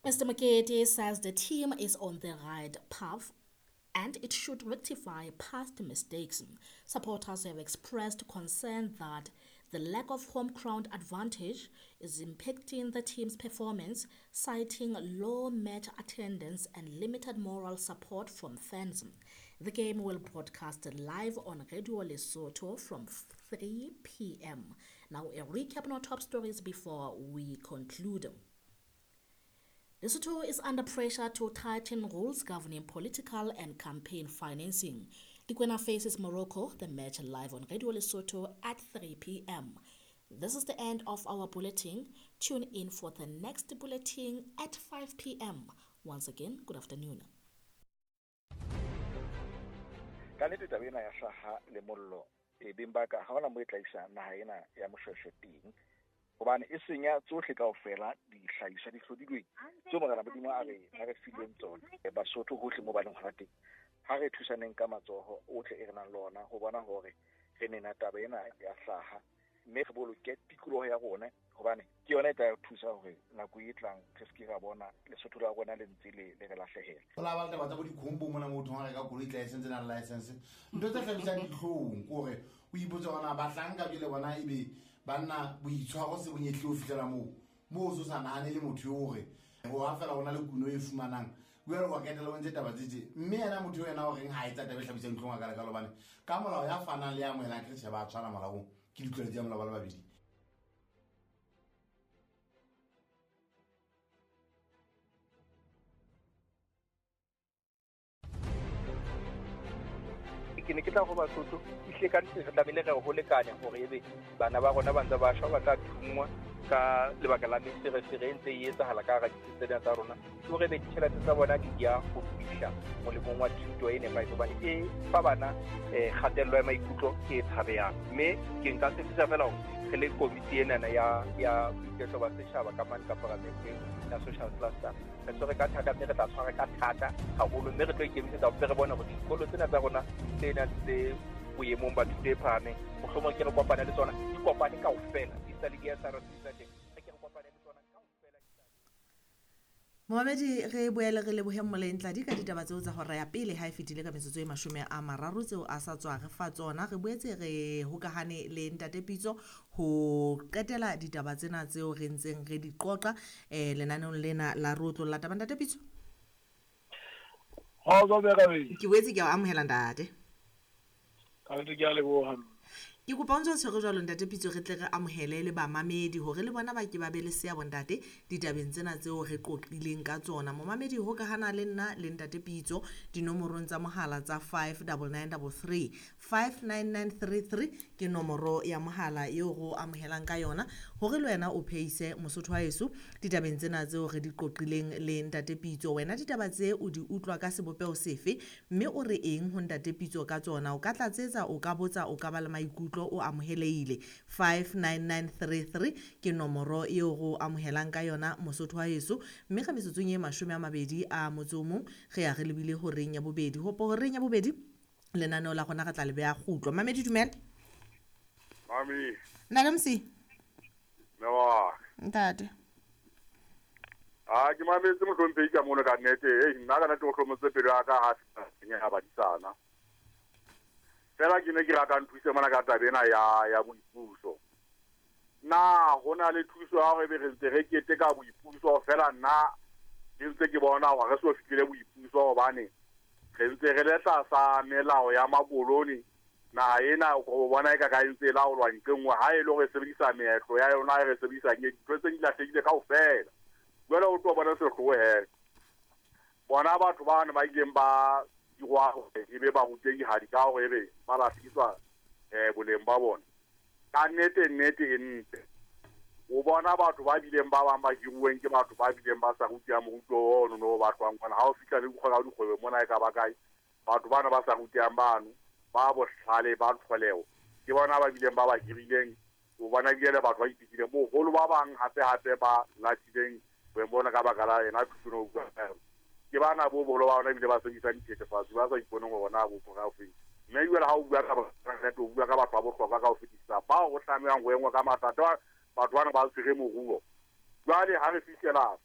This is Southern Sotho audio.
Mr. Mokete says the team is on the right path and it should rectify past mistakes. Supporters have expressed concern that the lack of home crowd advantage is impacting the team's performance, citing low match attendance and limited moral support from fans. The game will broadcast live on Radio Lesotho from 3 p.m. Now, a recap on our top stories before we conclude. Lesotho is under pressure to tighten rules governing political and campaign financing. Likuena faces Morocco, the match live on Radio Lesotho at 3 p.m. This is the end of our bulletin. Tune in for the next bulletin at 5 p.m. Once again, good afternoon. Ka nnete taba ena ya hlaha le mollo e beng ba ka ha hona mo e tla isa naha ena ya Moshweshwe teng, hobane e senya tsohle kaofela dihlahiswa di hlodilweng tseo Morena Modimo a re fileng tsona. Basotho hohle mo ba leng hona teng, ha re thusaneng ka matsoho ohle e re nang le ona ho bona hore re nena taba ena ya hlaha, mme re boloke tikoloho ya rona, hobane ke yona e tla re thusa hore nako e tlang re se ke ra bona Lesotho la rona le ntse le re lahlehela. Ho la ba le taba tsa bo dikhombo mona motho ha reka koloi tla e sentse na le license. Ntho tse hlabisang dihlong ke hore o ipotse hore na bahlanka jwale bona ebe banna boitshwaro se bonyetlile ho fihlela moo moo o so sa nahane le motho eo hore ho ha fela ho na le kuno e fumanang jwale wa ketela o ntse taba tse tje, mme yena motho eo yena o reng ha etsa taba e hlabisang dihlong a ka lekalo, hobane ka molao ya fanang le ya amohelang ke re tjhe ba tshwana molaong, ke ditlwaelo tsa molao ba le babedi. Ke ne ke tla ho Basotho ehlile ka nnete re tlamehile re ho lekane hore ebe bana ba rona ba ntse ba shwa, ba tla thungwa ka lebaka la meferefere e ntse e etsahala ka hara ditsi tsena tsa rona, ke hore ebe ditjhelete tsa bona di ya ho fihla molemong wa thuto e nepahetseng, hobane e fa bana kgatello ya maikutlo e tshabehang. Mme ke nka tshepisa fela hore re le komiti enana ya boiketlo ba setjhaba ka mane ka paramenteng ya social cluster, re tshwere ka thata, mme re tla tshwara ka thata haholo, mme re tlo ikemisetsa hore re bone hore dikolo tsena tsa rona tse nang tse boemong ba thuto e phahameng, mohlomong ke re kopane le tsona, di kopane kaofela, di sa le di-S_R_C tsa teng, re ke re kopane le tsona kaofela. Momamedi, re boele re lebohe Moleng Tladi ka ditaba tseo tsa hora ya pele ha e fetile ka metsotso e 30 tseo a sa tswa re fa tsona. Re boetse re hokahane le Ntate Pitso ho qetela ditaba tsena tseo re ntseng re di qoqa lenaneong lena la re otlolla taba. Ntate Pitso, ke boetse ke a o amohela ntate. Ka nnete ke a leboha. Ke kopa o ntse o tshwere jwalo Ntate Pitso, re tle re amohele le bamamedi hore le bona ba ke ba be le seabo ntate ditabeng tsena tseo re qoqileng ka tsona. Momamedi hokahana le nna le Ntate Pitso dinomorong tsa mohala tsa 59933 59933 ke nomoro ya mohala eo re o amohelang ka yona hore le wena o pheise Mosotho wa heso ditabeng tsena tseo re di qoqileng le Ntate Pitso. Wena ditaba tse o di utlwa ka sebopeho sefe, mme o re eng ho Ntate Pitso ka tsona? O ka tlatsetsa, o ka botsa, o ka ba le maikutlo, o amoheleile. 59933 ke nomoro eo re o amohelang ka yona Mosotho wa heso. Mme ka metsotsong e 21 a motso o mong re ya re lebile horeng ya bobedi. Hopo horeng ya bobedi lenaneo la rona re tla le beha kgutlo. Mamedi, dumela. Mami. Nna le Msi. Mewa. Ntate. A ke mametse mohlomphehi ka mono ka nnete. Nna ka nnete o hlomotse pelo ya ka ha ya badisana. Fela ke ne ke rata nthuse mona ka taba ena ya boipuso. Na ho na le thuso ya hore re ntse re keteka boipuso fela, nna ke ntse ke bona hore re so fihlile boipuso, hobane re ntse re le tlasa melao ya makoloni. Naha ena o bona e ka ka ntse e laolwa ntle nngwe, ha e le hore e sebedisa meetlo ya yona e re sebedisang, dintho tse di lahlehile kaofela. Jwale o tlo bona sehloho he, bona batho bane ba ileng ba dirwa hore ebe ba rutehadi ka hore ebe ba lahlehetswa boleng ba bona. Ka nnete nnete e ntle, o bona batho ba bileng ba bang ba hiruweng ke batho ba bileng ba sa rutehang moruto ono no ba tlwang kwana. Ha o fihla le dikgwebo dikgwebo mona e ka ba kae, batho bana ba sa rutehang bano ba bohlale ba tlholeho ke bona ba bileng ba ba hirileng. O bona ebile le batho ba ipikileng boholo ba bang hape hape ba lahlileng boemo bona ka baka la yena thuto no bua ke bana bo boholo ba bona ebile ba sebedisa dithethefatsi ba sa iponeng hore na bo porafeng. Mme jwale ha o bua ka batho, o bua ka batho ba bohlokwa ka ho fetisisa bao o tlamehang ho engwa ka mathata, batho bana ba tshwere moruo. Jwale ha re fihlela